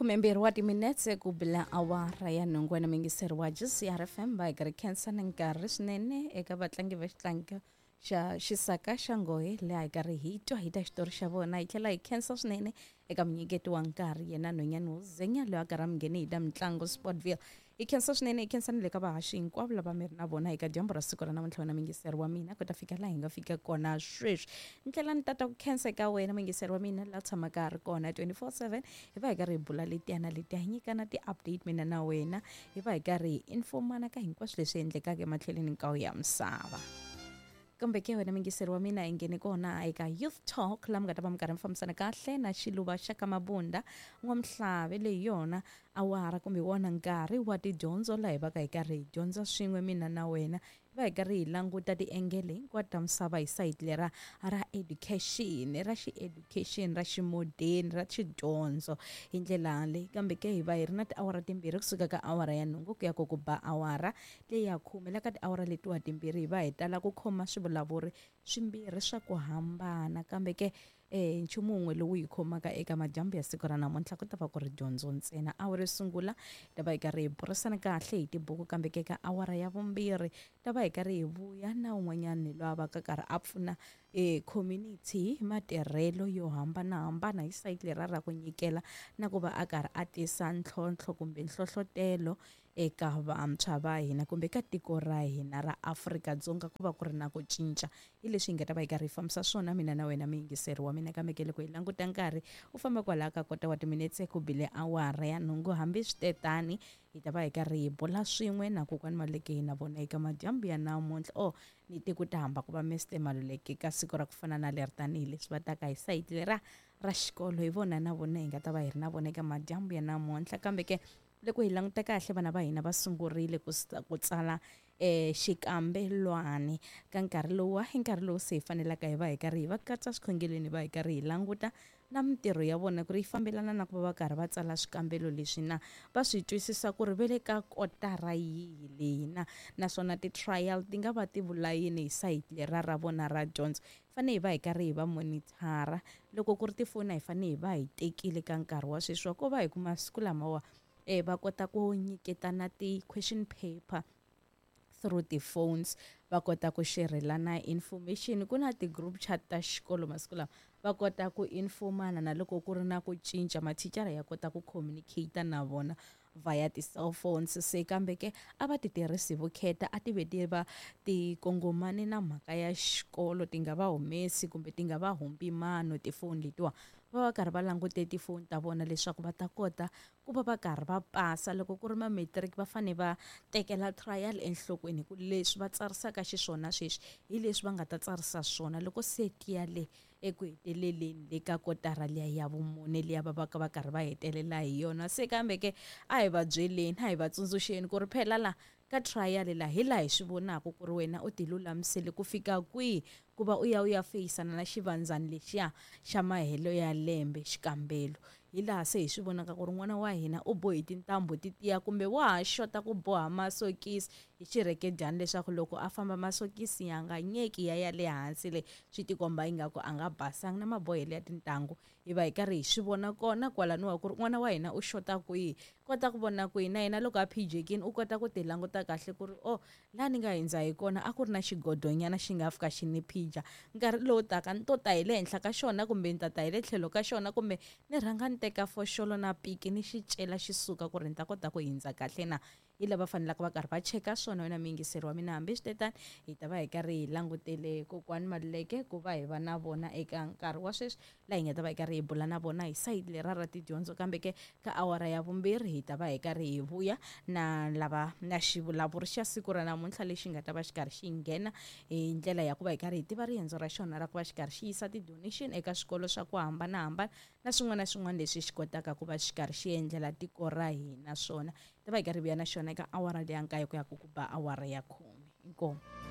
12 wa timinetse ku bila awara ya nhungu. Wena mingiseri wa GCR FM, va hi karhi khensa na nkarhi swinene eka vatlangi va xitlangi xa xisaka xa nghohe, laha hi karhi hi twa hi ta xitori xa vona. Hi tlhela hi khensa swinene eka munyiketi wa nkarhi, yena nhwanyana wo zenya loyi a karhi a mi ngheni hi ta mitlangu Sportville. Hi khensa swinene, hi khensa ni le ka vahaxi hinkwavo lava mi ri na vona eka dyambu ra siku ra namuntlha. Wena mingiseri wa mina, ku ta fika laha hi nga fika kona sweswi, ni tlhela ni tata ku khensa eka wena mingiseri wa mina la tshamaka a ri kona 24/7. Hi va hi karhi hi bula letiya na letiya, hi nyikana ti-update mina na wena, hi va hi karhi hi informana ka hinkwaswo leswi endlekaka ematlhelweni hinkwawo ya misava. Kambe ke wena mingiseri wa mina, hi nghene kona eka Youth Talk, laha mi nga ta va mi karhi mi fambisana kahle na Xiluva xa ka Mabunda N'wamhlave. Leyi yona awara kumbe wona nkarhi wa tidyondzo, laha hi va ka hi karhi hi dyondza swin'we mina na wena, hi va hi karhi hi languta tiengele hinkwato ta misava hi sayiti lera ra education, ra xi-education, ra ximodeni, ra xidyondzo hi ndlela leyi. Kambe ke hi va hi ri na tiawara timbirhi, kusuka ka awara ya 8 ku ya ku ba awara leyi ya 10. La ka tiawara letiwa timbirhi hi va hi tala ku khoma swivulavuri swimbirhi swa ku hambana, kambe ke nchumu wun'we lowu hi khomaka eka madyambu ya siku ra namuntlha ku ta va ku ri dyondzo ntsena. Awara yo sungula hi ta va hi karhi hi burisana kahle hi tibuku, kambe ke ka awara ya vumbirhi ta va hi karhi hi vuya na un'wanyani loyi a va ka karhi a pfuna community hi matirhelo yo hambanahambana hi sayiti lera ra ku nyikela na ku va a karhi a tisa ntlhontlho kumbe nhlohlotelo eka vantshwa va hina kumbe ka tiko ra hina ra Afrika-Dzonga ku va ku ri na ku cinca. Hi leswi hi nga ta va hi karhi hi fambisa swona mina na wena muyingiseri wa mina. Kambe ke loko hi languta nkarhi u famba kwalaho ka kota wa timinetse ku bile awara ya 8, hambi switetani hi ta va hi karhi hi bula swin'we na kokwani Maluleke hi na vona eka madyambu ya namuntlha. O ni te ku ta hamba ku va Mr Maluleke ka siku ra ku fana na leri, tanihileswi va taka hi sayiti lera ra xikolo. Hi vona na vona hi nga ta va hi ri na vona eka madyambu ya namuntlha. Kambe ke loko hi languta kahle, vana va hina va sungurile ku tsala xikambelwani ka nkarhi lowu. Hi nkarhi lowu se hi fanelaka hi va hi karhi hi va katsa swikhongelweni, va hi karhi hi languta na mintirho ya vona ku ri yi fambelana na ku va va karhi va tsala swikambelo leswi na, va swi twisisa ku ri ve le ka kotara yihi leyi na, naswona ti-trial ti nga va ti vula yini hi sayiti lera ra vona ra dyondzo. Fanele hi va hi karhi hi va monithara. Loko ku ri tifoni, a hi fanele hi va hi tekile ka nkarhi wa sweswi wa ko va hi ku masiku lamawa va kota ku nyiketana ti-question paper through ti-phones, va kota ku xerelana information. Ku na ti-group chat ta xikolo masiku lama, va kota ku informana, na loko ku ri na ku cinca mathicara ya kota ku communicate na vona via ti-cellphones. Se kambe ke a va ti tirhisi vukheta, a ti ve ti va ti kongomane na mhaka ya xikolo, ti nga va humesi kumbe ti nga va humbi mano tifoni letiwa. Va va karhi va langute tifoni ta vona leswaku va ta kota ku va va karhi va pasa. Loko ku ri ma matric, va fane va tekela trial enhlokweni, hi ku leswi va tsarisaka xiswona sweswi hi leswi va nga ta tsarisa swona loko se tiya le eku heteleleni le ka kotara liya ya vumune liya va va ka va karhi va hetelela hi yona. Se kambe ke a hi va byeleni, a hi va tsundzuxeni ku ri phela la ka trial la hi laha hi swi vonaka ku ri wena u ti lulamisele ku fika kwihi ku va u ya u ya feyisana na xivandzani lexiya xa mahelo ya lembe, xikambelo. Hi laha se hi swi vonaka ku ri n'wana wa hina u bohi tintambu ti tiya kumbe wa ha xota ku boha masokisi hi xirhekedyani, leswaku loko a famba masokisi ya nga nyeki ya ya le hansi, le swi tikomba ingaku a nga basanga na mabohelo ya tintangu. Hi va hi karhi hi swi vona kona kwalaniwa ku ri n'wana wa hina u xota kwihi. Kota ku vona kwihi na yena loko a phijekini, u kota ku ti languta kahle ku ri o laha ni nga hindza hi kona a ku ri na xigodonyana xi nga fika xi ni phija, nkarhi lowu taka ni to ta hi le henhla ka xona kumbe ni ta ta hi le tlhelo ka xona, kumbe ni rhanga ni teka foxolo na piki ni xi cela xi suka ku ri ni ta kota ku hindza kahle na. Hi lava fanelaka va karhi va cheka swona, wena muyingiseri wa mina. Hambi switetani hi ta va hi karhi hi langutele kokwani Maluleke ku va hi va na vona eka nkarhi wa sweswi, laha hi nga ta va hi karhi hi bula na vona hi sayiti lera ra tidyondzo. Kambe ke ka awara ya vumbirhi hi ta va hi karhi hi vuya na lava na xivulavuri xa siku ra namuntlha lexi nga ta va xi karhi xi nghena hi ndlela ya ku va hi karhi hi tiva riendzo ra xona ra ku va xi karhi xi yisa ti-donation eka swikolo swa ku hambanahambana na swin'wana na swin'wana leswi xi kotaka ku va xi karhi xi endlela tiko ra hina swona. Ta va hi karhi vuya na xona eka awara leya 9 ku ya ku ba awara ya 10. Inkomu.